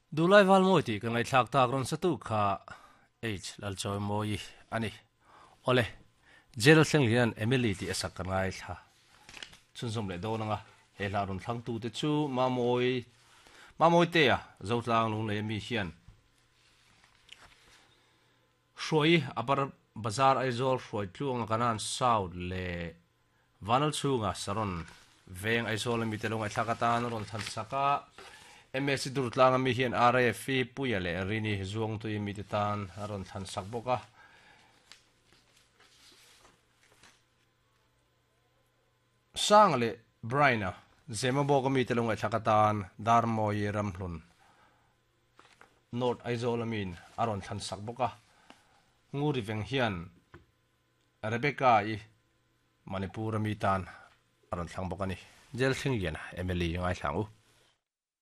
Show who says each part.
Speaker 1: Duhlai Valmawi tih ka ngaihthlak tak rawn satu kha H Lalchawimawi a ni. Awle, Jail thleng hian Emily tih a sak ka ngaithla chhunzawm leh dawn anga he hla rawn thlangtute chu Mamawi Mamawitea Zotlang Lunglei ami hian Hruai Upper Bazar Aizawl Hruai Tluanga Kanan South leh Vanal chhunga Saron veng Aizawl ami te lo ngaihthlak atan a rawn thlan sak a. MSC Durtlang ami hian RAF-i Puia leh Rini Zuangtui ami te tan a rawn thlan sak bawk a. Sanga leh Brian-a Zemabawk ami te lo ngaihthlak atan Darmawi Ramhlun North Aizawl amiin a rawn thlan sak bawk a. Nguri veng hian Rebecca-i Manipur ami tan a rawn thlang bawk a ni. Jail Thlingliana, mla ngaithla ang u.